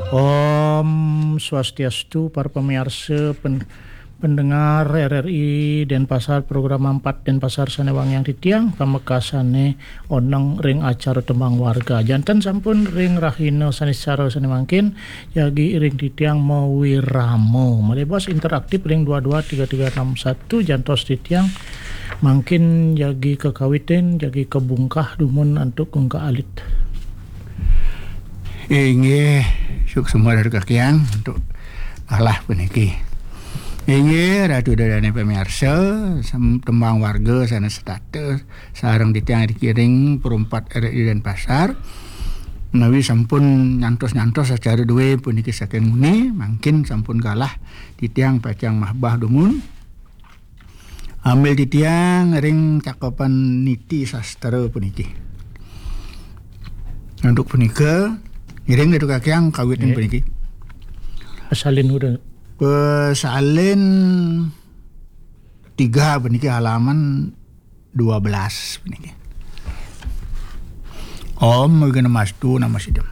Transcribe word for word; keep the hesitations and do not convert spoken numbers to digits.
Om Swastiastu, para pamiarsa pen- pendengar R R I Denpasar, program empat Denpasar sane wangiang titiang, pamekasane oneng ring acara tembang warga. Janten sampun ring rahina Saniscara sane mangkin, jagi ring titiang mawirama. Malebos interaktif ring dua dua tiga tiga enam satu, jantos titiang mangkin jagi kakawitin, jagi kabungkah dumun antuk gungkah alit. Inggih, suksma Ratu Kakiang antuk galah puniki. Inggih, Ratu Ida dane pamiarsa, sem- tembang warga sane setata sareng titiang ring Pro empat R R I Denpasar. Menawi sampun nyantos-nyantos acara duwe puniki saking muni, mangkin sampun galah titiang pacang mahbah dumun. Ambil titiang ring cakepan niti sastra puniki. Antuk punika, ngiring Ratu Kakiang kawitin Nggih. Puniki. Pasalin udah. Pasalin tiga puniki, halaman dua belas puniki. Om Wignamastu Namasidam.